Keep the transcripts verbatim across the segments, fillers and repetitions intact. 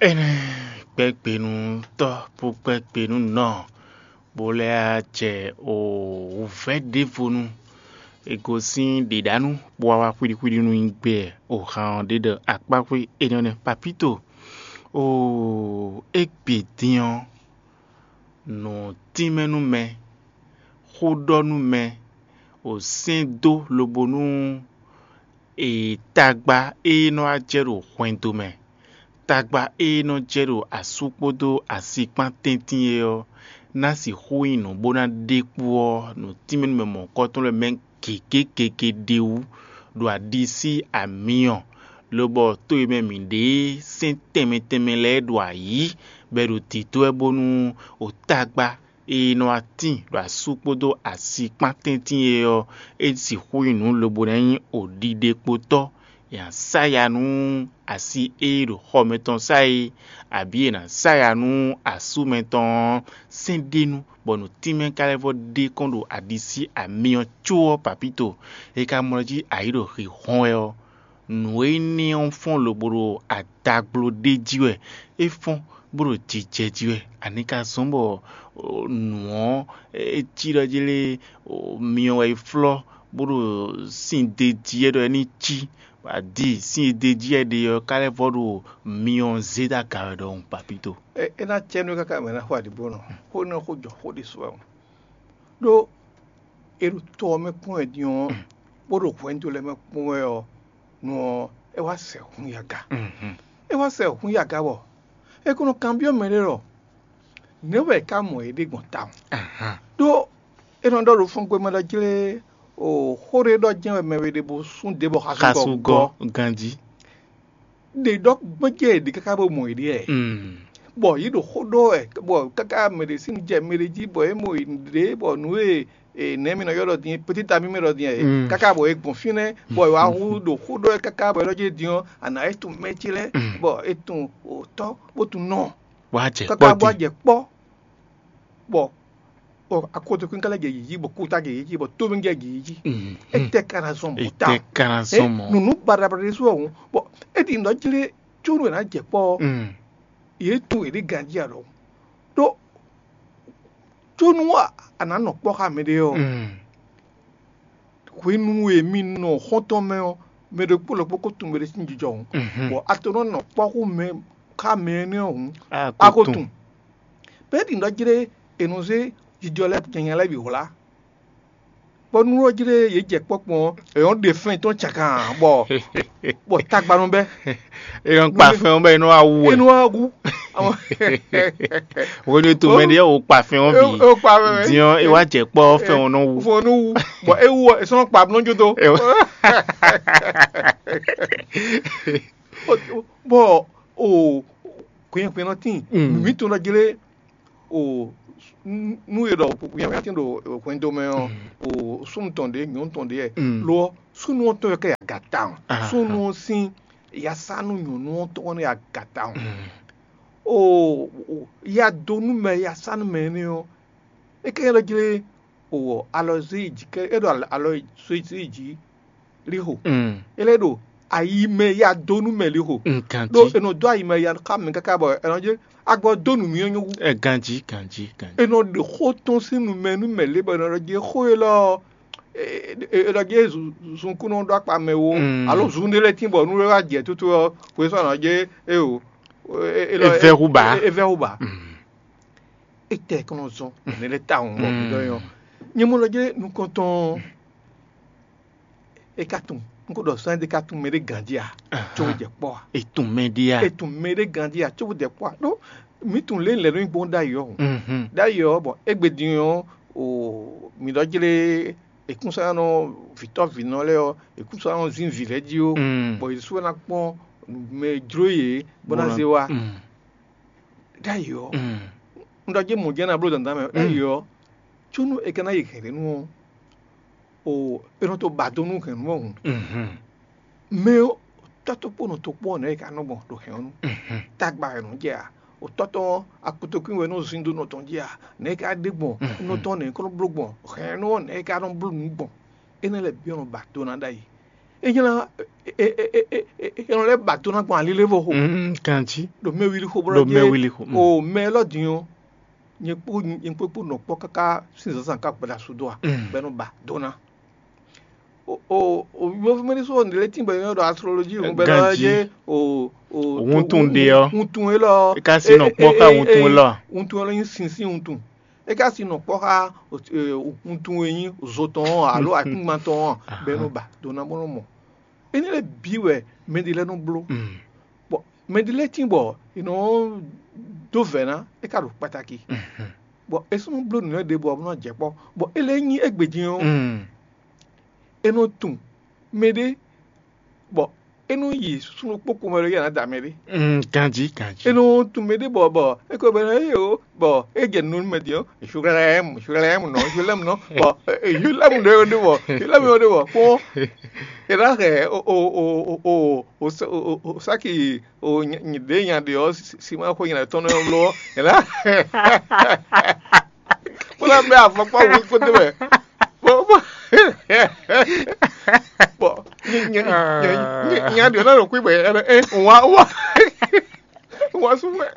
Énɛ́ gbɛ́gbenu tɔ́ bó gbɛ́gbenu nɔ, bó lɛ́ jɛ wǔvɛ́ ɖěvo nu. È gosín ɖěɖanú bó wá wá xwíɖíxwíɖí nú nyi gbɛ. Ohan ɔ́ ɖe ɖɔ akpáxwé énɛ́ nɛ́ papíto. Oo, égbě din ɔ́, nǔ tínmɛ nú mɛ, xó ɖɔ nú mɛ, wǒ sɛ́n dó lobo nú e tagba e nɔ wá jɛ ɖo hwɛndo mɛ, tagba e nɔ jɛ ɖo asú kpódó asi kpán tɛ́ntin é ɔ́, ná sixú nyí nǔ bó ná ɖe kpó ɔ́, nǔ tínmɛ nú mɛ mɔ̌hunkɔtɔn lɛ́ɛ mɛ gěgé gěgé ɖ'é wú, ɖo aɖisí amyɔ, lobɔ to e mɛ mǐ ɖe sɛ́n tɛnmɛ tɛnmɛ lɛ́ɛ ɖo ayǐ, bɔ è ɖo dǐdó wɛ bónú wǒ tagba e nɔ wá tíin ɖo asú kpódó asi kpán tɛ́ntin é ɔ́, é sixú nyí nǔ lobo ná nyí wǒ ɖiɖekpotɔ́. È nǎ sá ya nú asi e ɖo xɔ mɛtɔn sá é, abǐ è nǎ sá ya nú asú mɛtɔn ɔ́ sɛ́n ɖ'é nu, bɔ nǔ tínmɛ ka lɛ́ vɔ ɖe kɔn ɖo aɖisí amyɔ có ɔ́ papíto. È ka mlɔ́ jí ayǐ ɖo xixɔ́n wɛ ɔ́, nǔ e ní ɔ́ fɔ́n lobo ɖo adagbló ɖ'é jí wɛ, é fɔ́n bó ɖo jijɛ jí wɛ. Ani ka zɔ́n bɔ nǔ ɔ́ é cí ɖɔ jí lé, myɔ wɛ é flɔ́ bó ɖo sin d'é jí wɛ ɖɔ é ní cí, adi sin e d'é jí wɛ ɖe ɔ́ ka lɛ́ vɔ ɖo myɔ zé dó aga wɛ ɖɔhun papíto. É ná cɛ nú káká mɛ ná xo aɖǐbónɔ, xó énɛ́ xó jɔ xó ɖésú wɛ. Ɖó è ɖo tɔ ɔ́ mɛ kpɔ́n wɛ din ɔ́, bó ɖo hwɛndo lɛ́ɛ mɛ kpɔ́n wɛ ɔ́, nu ɔ́, é wá sɛ hun yaga. É wá sɛ hun yaga bɔ é ko nɔ kanbyɔ́ mɛ ɖé ɖɔ nɛ̌ wɛ è ká mɔ yě ɖe gbɔn tawun. Ɖó è nɔ ɖɔ ɖo fɔngbe mɛ ɖɔ jlé o xó ɖé ɖɔ jɛ́n wɛ mɛ we ɖe bó sún ɖě bɔ xasun gɔ́ ganjí. Ɖě ɖɔ gbɔn jɛ yě ɖe káká bó mɔ yě ɖe ɛ. Bɔ yě ɖo xó ɖɔ wɛ, bɔ káká mɛ ɖě sín jɛ mɛ ɖě jí bɔ é mɔ yě ɖě bɔ nǔ e nɛ̌ mi nɔ ylɔ́ ɖɔ din, petit ami mɛ ɖɔ din ɛ, káká bɔ é gbɔn fínɛ́ bɔ é wá hu ɖo xó ɖɔ wɛ káká bɔ é ɖɔ jɛ din ɔ́, a nǎ é tunwun mɛ ce lɛ́ɛ bɔ é tunwun tɔ́ bó tunwun nɔ. Wá jɛ káká kpɔ́ bó wá din. Jɛ kpɔ́ bɔ bɔ akotokun ka lɛ́ jɛ yǐyí bɔ kúta jɛ yǐyí bɔ tómi jɛ yǐyí. Etɛ ka ná zɔn mɔ̌ ta? Etɛ ka ná zɔn mɔ̌? Nǔnú baɖabaɖa ɖésú ɔ́ hǔn bɔ é ɖi nǔ ɔ́ jlé cónú è nǎ jɛ kpɔ́ ɔ́, yě tunwun yě ɖi ganjí ǎ ɖɔhun. Ɖó cónú a nǎ nɔ kpɔ́ xá mɛɖé ɔ́, hwenu e mi nɔ xɔ́ntɔn mɛ ɔ́, mɛ ɖokpó ɖokpó ko tunwun mɛɖé sín jijɔ hǔn, bɔ a to nɔ nɔ kpɔ́ xú mɛ xá mɛ énɛ́ ɔ́ hǔn, a ko tunwun. Bɛ́ ɖi nǔ ɖɔ jlé è nɔ zé jijɔ lɛ́ɛ nyanya lɛ́ɛ bǐ hwlá. Bɔ nú ɔ́ jlé yě jɛ kpɔ́kpɔ́n ɔ́, è nɔ ɖe fɛ́n tɔn cakan bɔ bɔ tagba nɔ bɛ́. È nɔ kpa fɛn ɔ́ bɔ è nɔ wá wú wɛ. È nɔ wá wú. Hwenu e to mɛ ɖe wò kpa fɛn ɔ́ bǐ. È kpa fɛn ɔ́. Din ɔ́, è wá jɛ kpɔ́ fɛn ɔ́ nɔ wú. Fɛn ɔ́ nɔ wú. Bɔ é wú ɔ́, è sɔ́ nɔ kpa nɔ jó dó. Bɔ o hwɛnhwɛnnɔ tíin, mǐ tɔn ɖɔ jlé o nú e ɖɔ yɛnwɛn tín ɖo hwɛndo mɛ ɔ́, o súnnu tɔn ɖě, nyɔ̌nu tɔn ɖě wɛ. Lo ɔ́, súnnu ɔ́ tɔn wɛ ká yi aga tawun. Súnnu ɔ́ sín yasánú nyɔ̌nu ɔ́ tɔn wɛ nɔ yi aga tawun. O ya dó nú mɛ yasánú mɛ énɛ́ ɔ́, é ká nyí ɖɔ jlé o alɔ zé yi jǐ kɛ é ɖo alɔ zé yi jǐ lixo. É lɛ́ ɖo ayi mɛ ya dó nú mɛ lixo. Ɖó è nɔ dó ayi mɛ ya xá mɛ káká bɔ è nɔ jɛ agbɔ dó nǔ mì ɔ́ nyɔ́ wú. Ganjí, ganjí, ganjí. È nɔ ɖe xó tɔn sín nu mɛ nú mɛ lě bɔ è nɔ ɖɔ jɛ xó élɔ́ ɔ́, è nɔ jɛ zunkúnɔ ɖó akpa mɛ wo alo zun ɖé lɛ́ɛ tín bɔ nú é wá jɛ tútú ɔ́, xwe sɔ́ nɔ jɛ é o. É vɛ́ hú bǎ. É vɛ́ hú bǎ. Étɛ́ kɔn nɔ zɔn nɛ̌ lɛ́ɛ tawun bɔ mǐ ɖɔ nyɔ. Nyɛ mɔ lɔ jɛ nukɔntɔn. É ka tunwun, un ko ɖɔ sɔ́ ɖé ka tunwun mɛ ɖé ganjí a, có wú jɛ kpɔ́ a? È tunwun mɛ ɖé a? È tunwun mɛ ɖé ganjí a, có wú jɛ kpɔ́ a? Ɖó mǐ tunwun lě lɛ̌ nɔ nyí gbɔn ɖ'ayǐ ɔ́ hǔn. Ɖ'ayǐ ɔ́, bɔ égbé din ɔ́, o mǐ ɖɔ jlé èkúnsanɔ vǐtɔ́ vǐnɔ lɛ́ɛ ɔ́, èkúnsanɔ zín vǐ lɛ́ɛ jí ó, bɔ yě sú ná kpɔ́n mɛ jló yě bó ná zé wá. Ɖ'ayǐ ɔ́, un ɖɔ jɛ mɔ̌ jɛ́n ná bló dandan mɛ. Ɖ'ayǐ ɔ́, có nú è ka ná yi hɛ̌nnu ɔ́, o è nɔ to ba do nú hɛ̌nnu ɔ́ hǔn. Mɛ ɔ́, tɔ́ tó kpó nɔ tó kpó ɔ́, nɛ̌ è ka nɔ gbɔn ɖo hɛ̌nnu? Tagba wɛ nɔ jɛ a? O tɔ́ tɔn ɔ́, akutokún wɛ nɔ zin dó nɔ tɔn jí a? Nɛ̌ è ka ɖe gbɔn nɔ tɔn nɛ̌ è ko nɔ bló gbɔn? Hɛ̌nnu ɔ́, nɛ̌ è ka nɔ bló nǔ gbɔn? Énɛ́ lɛ́ɛ bǐ ɔ́ nɔ ba do ná ɖ'ayǐ. É nyí ná é é é é é é nɔ lɛ́ ba do ná gbɔn alilé vo xo. Mm, ganjí. Ɖo mɛ wili xo bó Ɖo ná mɛ jɛ wili xo, mm. O mɛ élɔ́ din ɔ́, nyɛ kpó nyɛ kpó kpó nɔ kpɔ́ káká sín zǎnzǎn ká gbada su dó a Mm. bɔ é nɔ ba do ná. O o o yovomɛ ɖé sɔ́ nǔɖé lɛ́ɛ tín bɔ é nɔ ɖɔ astrologie hǔn bɔ é nɔ Ganjí. Jɛ o o Wuntun ɖe ɔ́. Wuntun élɔ́ É ka sí nɔ kpɔ́ ká wuntun élɔ́ a? Wuntun élɔ́ nyí sínsín wuntun. É ka si nɔ kpɔ́ xá wuntun e nyí zo tɔn ɔ́ alo akíngban tɔn ɔ́ bɔ é nɔ ba do ná bó nɔ mɔ. Énɛ́ lɛ́ɛ bǐ wɛ mɛɖé lɛ́ɛ nɔ bló. Bɔ mɛɖé lɛ́ɛ tín bɔ è nɔ dó vɛ̌ ná, é ka ɖo kpataki. Bɔ é sɔ́ nɔ bló nǔnywɛ́ ɖěbǔ ɔ́ bó nɔ jɛ kpɔ́. Bɔ é lɛ́ɛ nyí égbé din ɔ́, é nɔ tunwun mɛɖé bɔ é nɔ yi súnnu kpókpo mɛ ɖo yɛ ná da mɛ ɖé. Mm, ganjí ganjí. É nɔ tunwun mɛ ɖé bɔ bɔ é ko bɛ ná yé o bɔ é jɛ nunu mɛ din ɔ́, Zulɛ́mu Zulɛ́mu nɔ Zulɛ́mu nɔ bɔ Zulɛ́mu ɖé ɖé bɔ Zulɛ́mu ɖé bɔ kpɔn é ná hɛ o o o o o o o o sáki o ɖě nya ɖe ɔ́ si ma xo nya tɔn nɔ lo ɔ́ é ná bó ná bɛ afɔkpa wú kó dé mɛ bó bó bɔ nya ɖiɔ náà lɔ kú ibɔ ɛ ɛ wa wa wa sú mɛ.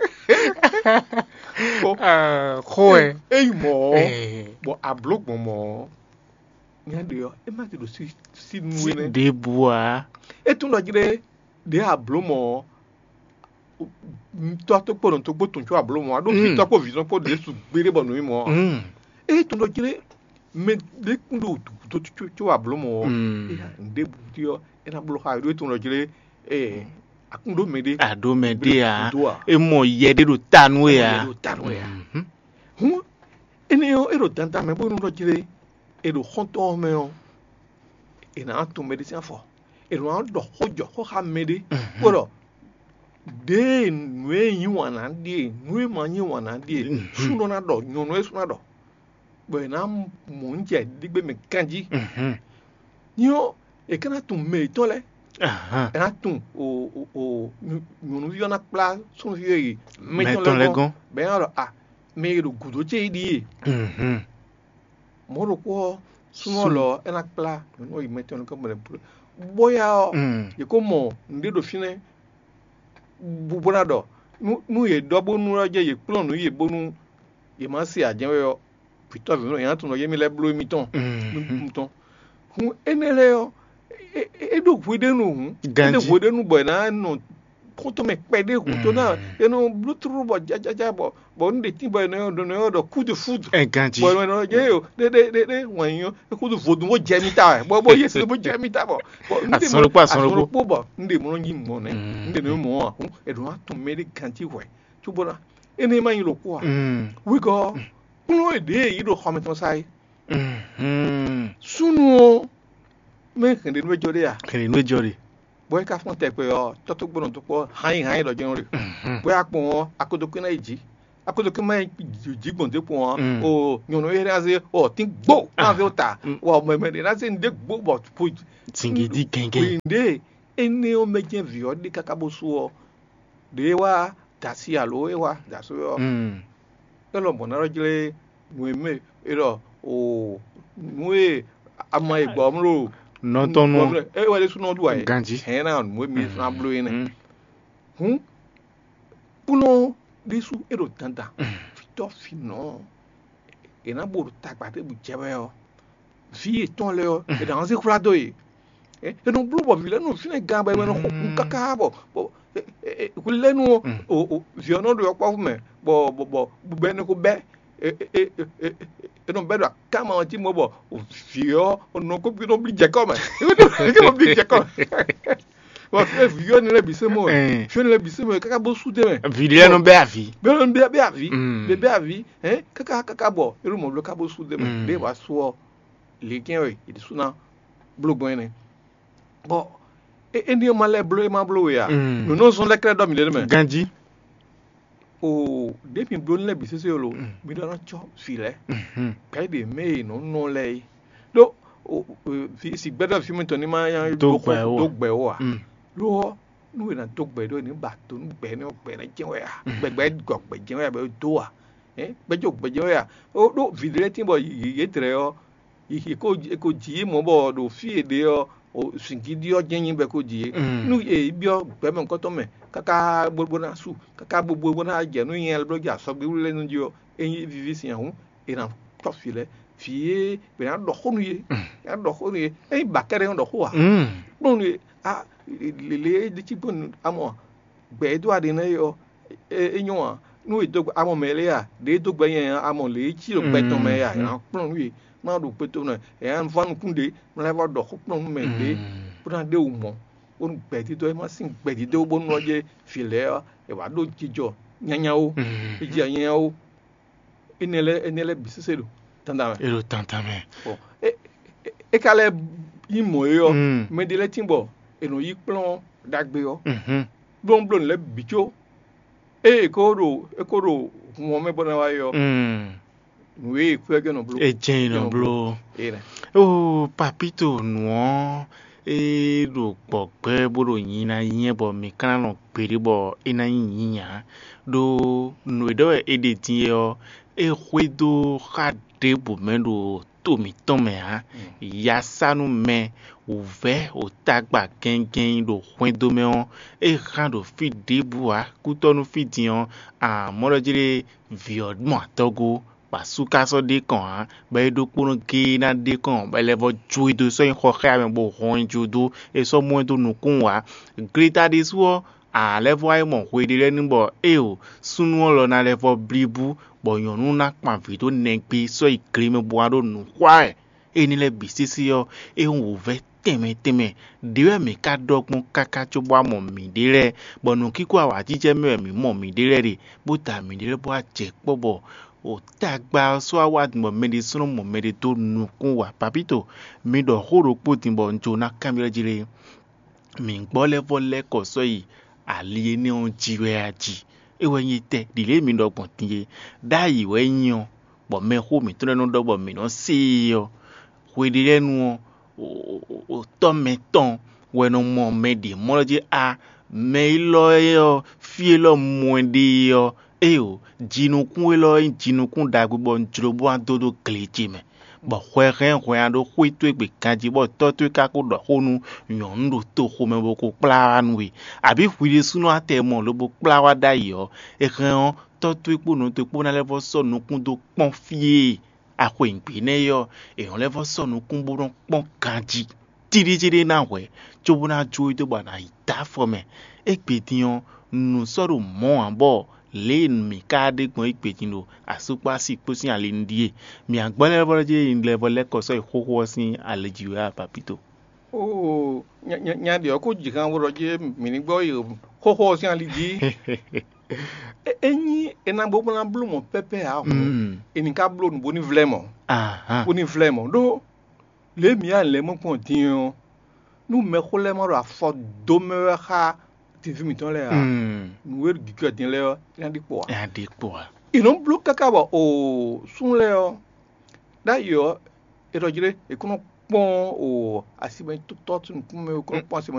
Xó ɛ. Eyi mɔ ɔ bɔ abló gbɔn mɔ ɔ nya ɖiɔ ɛ má ti ɖo sí sí nú ɛ nɛ. Ɖěbǔ ǎ. É tún ɖɔ jí ɖé ɖě abló mɔ ɔ tɔ́ tó kpó nɔ tó kpó tún có abló mɔ ɔ ɖó vǐ tɔ́ kpó vǐ tɔ́ kpó ɖě su gbéɖé bɔ nǔ nyí mɔ ɔ. Eye tɔn ɖɔ jlé mɛ ɖé kún ɖo gǔdo có abló mɔ ɔ́, ŋɖé bǔ ɔ́ é ná bló xá ɖó é tɔn ɖɔ jlé akún ɖó mɛ ɖé. Aɖó mɛ ɖé ǎ. É mɔ yɛ ɖé ɖo ta nú é ǎ. Ɖo ta nú é ǎ. Hǔn énɛ́ ɔ́ é ɖo dandan mɛ bónú ɖɔ jlé è ɖo xɔ́ntɔn ɔ́ mɛ ɔ́, è nǎ tunwun mɛ ɖé sín afɔ. È nɔ ɖɔ xó jɔ xó xá mɛ ɖé bó ɖɔ ɖěe nǔ e nyí wǎn ná ɖíe, nǔ e ma nyí wǎn ná ɖíe, sú nɔ ná ɖɔ, nyɔ̌nu e sú ná ɖɔ, bɔ è nǎ mɔ nǔ jɛ ɖígbé mɛ ganjí. Nyɔ è ka ná tunwun mɛ yětɔn lɛ́ɛ, è nǎ tunwun nyɔ̌nuví ɔ́ ná kplá súnnuví e yi mɛtɔn lɛ́ɛ gɔ́n, bɔ é ná ɖɔ a mɛ e ɖo gǔdo ce yi ɖíe. Mɔ̌ ɖokpó ɔ́, súnnu ɔ́ lɔ ɔ́, é ná kplá nyɔ̌nu ɔ́ yi mɛtɔn nukɔn bɔ è nɔ bló. Bóyá ɔ́, yě kó mɔ nǔɖé ɖo fínɛ́ bó ná ɖɔ nú yě ɖɔ bónú ɔ́ jɛ yě kplɔ́n nǔ yě bónú yě má se ǎ jɛ́n wɛ ɔ́, vǐtɔ́ vǐnɔ yě ná tunwun ɖɔ yě mɛ lɛ́ɛ bló émítɔn. Hun énɛ́ lɛ́ɛ ɔ́, é ɖó hweɖénu hǔn, é ɖó hweɖénu bɔ è nǎ nɔ xɔ́ntɔn mɛ kpɛɖé hǔn tó ná è nɔ bló tlóló bɔ jajaja bɔ bɔ un ɖe tín bɔ è nɔ ɖɔ nɔ ɖɔ coup de foudre. Ganjí. Bɔ è nɔ ɖɔ yé o ɖé ɖé ɖé ɖé wɛn nyɔ é xúdu vodun bó jɛ mì ta wɛ bɔ bó yé se bó jɛ mì ta bɔ bɔ un ɖe Asɔn ɖokpó, asɔn ɖokpó. Asɔn ɖokpó bɔ un ɖe mɔ nyi mɔ nɛ un ɖe nɔ mɔ ɔ́ è ɖo ná tún mɛ ɖé ganjí hwɛ cóbó ná énɛ́ ma nyi ɖokpó a wígɔ kplɔ́n è ɖě yí ɖo xɔmɛ tɔn sa é. Súnnu ɔ́ mɛ hɛn ɖé nú é jɔ ɖé a Kɛnɛ nú é jɔ ɖe. Bɔ é ka fɔ́n tɛgbɛ ɔ́, tɔ́ tó gbɔn dó kpɔ́ hányíhányí ɖɔ jɛ́n ɖe. Bɔ é wá kpɔn ɔ́, akodokwín ná yi jǐ. Akodokwín má yi jǐ gbɔn dó kpɔn ɔ́, o nyɔ̌nu e ná zé ɔ tín gbó ná zé ó ta. Wɔ mɛmɛ ɖé ná zé nu ɖé gbó bɔ po Zingidi gɛngɛn. Ɖe énɛ́ ɔ́ mɛ jɛ́n vǐ ɔ́ ɖe káká bó sú ɔ́, ɖě é wá da asi alo é wá da asú ɔ́, é lɔ mɔ̌ ná ɖɔ jlé nǔ e mɛ é ɖɔ o nǔ e ama e gbɔ ɔ́ mló Nɔ tɔn nú ɔ. É wɛ ɖésú nɔ ɖu ayɛ Ganjí. Hɛn ná nǔ e mi ná bló é nɛ. Hǔn kplɔ́n ɖésú é ɖo dandan fítɔ́ finɔ è nǎ bo ɖo tagba ɖěbǔ jɛ wɛ ɔ́, vǐ yětɔn lɛ́ɛ ɔ́, è nǎ zé xwlá dó yě. È nɔ bló bɔ vǐ lɛ́ɛ nɔ fínɛ́ gan bɔ è nɔ xɔ kú káká bɔ bɔ hwi lɛ́ɛ nú vǐ ɔ́ nɔ ɖo yɔkpɔ́vú mɛ bɔ bɔ bɔ bɔ è nɔ ko bɛ́ è nɔ bɛ́ ɖo akáma ɔ́ jí mɔ bɔ vǐ ɔ́ nɔ ko nɔ blí jɛkɔ́ mɛ. Nɔ blí jɛkɔ́ mɛ. Bɔ fí e vǐ ɔ́ nɛ lɛ́ɛ bǐ sɛ́ mɔ wɛ. Fí ɔ́ nɛ lɛ́ɛ bǐ sɛ́ mɔ wɛ káká bó sú dé mɛ. Vǐ lɛ́ɛ nɔ bɛ́ avǐ. Bɛ́ nɔ bɛ́ avǐ. Bɛ́ bɛ́ avǐ. Hɛn káká káká bɔ é ɖo mɔ̌ bló ká bó sú dé mɛ. Ɖěe wǎ sú ɔ́, lě kɛ́n wɛ è ɖi sú ná bló gbɔn énɛ́. Bɔ énɛ́ ɔ́ ma lɛ́ bló é ma bló we ǎ. Nǔ nɔ zɔ́n lɛ́ kɛ́ɖɛ́ ɖɔ mǐ ɖe nɛ́ mɛ. Ganjí. O ɖě mi bló lɛ́ɛ bǐ sésé lo mi ɖɔ ná cɔ́ vǐ lɛ́ɛ gbɛ̌ ɖě mɛ e nɔ nɔ lɛ́ɛ é ɖó sigbɛ́ɖɔ fí mitɔn ní ma dó gbɛ ó ǎ. Lo ɔ́ nú è nǎ dó gbɛ ɖó è ní ba do nú gbɛ énɛ́ ɔ́ gbɛ énɛ́ jɛ́n wɛ a gbɛgbɛ gɔ gbɛ jɛ́n wɛ a bɔ é dó a gbɛjɔ gbɛ jɛ́n wɛ a ɖó vǐ ɖé lɛ́ɛ tín bɔ yě dlɛ̌ ɔ́ è ko jǐ yě mɔ̌ bɔ ɖo fí e ɖe ɔ́ O zǐngídi ɔ́ jɛ́n nyí bɛ́ ko jí é. Mm. Nú è yi byɔ́ gbɛ̌mɛkɔ́tɔn mɛ káká bó bó ná su, káká bó bó bó ná jɛ nú nyɛ lɛ́ɛ bló jɛ asɔgbéwlú lɛ́ɛ nú jí ɔ́, é nyí víví sin ǎ hǔn, è nǎ tɔ́ vǐ lɛ́ɛ. Vǐ e è nǎ ɖɔ xó nú yě, è nǎ ɖɔ xó nú yě. É nyí bǎkɛ́ɖɛ́ nɔ ɖɔ xó ǎ. Mm. Kplɔ́n nú yě. A lě e é ɖe cí gbɔn amɔ gbɛ e dó aɖe nɛ́ é ɔ́, é é nyɔ́ ǎ. Nú è dó amɔ mɛ lɛ́ɛ a, ɖě e dó gbɛ nyɛ ǎ, amɔ lě e cí ɖo gbɛ tɔn mɛ é a, è nǎ kplɔ́n nú yě. Má ɖo kpé tó nɛ, è nǎ vɔ́ nukún ɖě, má lɛ́ vɔ́ ɖɔ xó kplɔ́n nú mɛ ɖě bó ná ɖe wǔ mɔ̌, bónú gbɛ̌dídó e ma sín gbɛ̌dídó bónú ɔ́ jɛ vǐ lɛ́ɛ ɔ́, è wǎ ɖó jijɔ nyanya ó, è ji nyanya ó. Énɛ́ lɛ́ɛ énɛ́ lɛ́ɛ bǐ sésé ɖo dandan mɛ. É ɖo dandan mɛ. Bɔ é é- é ka lɛ́ nyí mɔ̌ é ɔ́, Mm. mɛ ɖé lɛ́ɛ tín bɔ è nɔ yí kplɔ́n ɖagbe ɔ́, Mhm. blónúblónú lɛ́ɛ bǐ có ée è ko ɖo é ko ɖo hun ɔ́ mɛ bɔ ná wá é ɔ́, Mm. nǔ e è kú ɔ́ jɛ́n nɔ bló. É jɛ́n è nɔ bló. É nɛ. Ó, Papito, nǔ ɔ́, é ɖo gbɔ̌gbɛ́ bó ɖo nyi ná nyí bɔ mǐ ka ná nɔ gbeɖé bɔ é ná nyí nyǐnyá. Ɖó nǔ e ɖɔ wɛ é ɖe din é ɔ́, é xwedó xá ɖěbǔ mɛ ɖo to mǐtɔn mɛ ǎ. Yasánú mɛ wǔvɛ́ wǒtagba gɛngɛn ɖo hwɛndo mɛ ɔ́, é hán ɖo fí ɖěbǔ ǎ. Kútɔ́nú fí din ɔ́, amɔ̌ ɖɔ jí ɖé vǐ ɔ́ mɔ atɔ́gó, bɔ asú ka sɔ́ ɖe kɔn ǎ, bɔ é ɖokpónɔ géé ná ɖe kɔn, bɔ é lɛ́ vɔ́ jó e dó sɔ́ nyi xɔ xá mɛ bó hɔn nyi jó dó, é sɔ́ mɔ ɛ dó nukún ǎ. Gleta ɖésú ɔ́, a lɛ́ vɔ́ wá yi mɔ hweɖé lɛ́ɛ nu bɔ éeǒ, súnnu ɔ́ lɔ ná lɛ́ vɔ́ blíbú, bɔ nyɔ̌nu ná kpan vǐ dó nɛgbé sɔ́ yi gle mɛ bó wá ɖo nǔ xwa wɛ. Énɛ́ lɛ́ɛ bǐ sésé ɔ́, é nyí wǔvɛ́ tɛnmɛ tɛnmɛ. Đě wɛ mǐ ka ɖɔ gbɔn káká cóbɔ wá mɔ mǐɖée lɛ́ɛ, bɔ nǔkínkɔ́n awǎjijɛ mɛ wɛ mǐ mɔ mǐɖée lɛ́ɛ ɖe, bó da mǐɖée lɛ́ɛ bó wá jɛ kpɔ́ bɔ tagba ɔ́ sɔ́ wá wá din bɔ mɛ ɖésúnɔ mɔ mɛ ɖé dó nukún wa. Papito, mi ɖɔ xó ɖokpó din bɔ un jló ná kanbyɔ́ jí lé. Mǐ gbɔ lɛ́ vɔ́ lɛ́ kɔ sɔ́ yi ali énɛ́ ɔ́ jí wɛ a jí? É wɛ nyí tɛ́ ɖi lě e mi ɖɔ gbɔn din é. Ɖ'ayǐ wɛ é nyí ɔ́, bɔ mɛxó mǐtɔn lɛ́ɛ nɔ ɖɔ bɔ mǐ nɔ se e ɔ́, hweɖélɛ́nu ɔ́, tɔ́ mɛtɔn wɛ nɔ mɔ mɛ ɖě mɔ jí a, mɛ élɔ́ ɔ́, fí élɔ́ mɔ ɛ ɖe ɔ́, éeǒ, jinukún élɔ́ ɔ́ nyí jinukún ɖagbe bɔ un jló bó ná dó dó gle ce mɛ, bɔ hwɛ hɛn hwɛ ná ɖó xwé towe gbe ganjí, bɔ tɔ́ towe ka ko ɖɔ xó nú nyɔ̌nu ɖo toxo mɛ bó ko kplá wá nú we, abǐ hwi ɖésúnɔ atɛ mɔ lobo kplá wá ɖ'ayǐ ɔ́, è hɛn ɔ́, tɔ́ towe kpó nɔ towe kpó ná lɛ́ vɔ́ sɔ́ nukún dó kpɔ́n fí e a xweyǐgbe nɛ́ é ɔ́, è nɔ lɛ́ vɔ́ sɔ́ nukún bó nɔ́ kpɔ́n ganjí. Tíɖítíɖí ná hwɛ̌, cóbó ná jó we dó bɔ a nǎ yi dó afɔ mɛ. Égbé din ɔ́, nǔ sɔ́ ɖo mɔ̌ ǎ bɔ lě e mǐ ka ɖe gbɔn égbé din ɖo asú kpó asi kpó sín ali nu ɖíe. Mǐ agbɔ́ lɛ́ɛ vɔ́ jí lɛ́ vɔ́ lɛ́ kɔ sɔ́ yi xóxó ɔ́ sín ali jí wɛ a, Papito? Oo, nya ɖě ɔ́ ko ji han bó ɖɔ jí mǐ ní gbɔ yi xóxó ɔ́ sín ali jí. Ényí è nǎ bó ná bló mɔ̌ pɛ́pɛ́ ǎ hǔn, è ní ka bló nǔ bó ní vlɛ́ mɔ̌, bó ní vlɛ́ mɔ̌. Ɖó lě e mǐ nya lɛ̌ mɔ gbɔn din ɔ́, nú mɛxó lɛ́ɛ ma ɖo afɔ dó mɛ wɛ xá teví mǐtɔn lɛ́ɛ ǎ, nǔ e ɖo gǐgɔ́ din lɛ́ɛ ɔ́, é ná ɖi kpo ǎ. É ná ɖi kpo ǎ. È nɔ bló káká bɔ oo, súnnu lɛ́ɛ ɔ́, ɖ'ayǐ ɔ́, è ɖɔ jí ɖé, è kún nɔ kpɔ́n o asi mɛ tɔ́ nukún mɛ, è kún nɔ kpɔ́n asi mɛ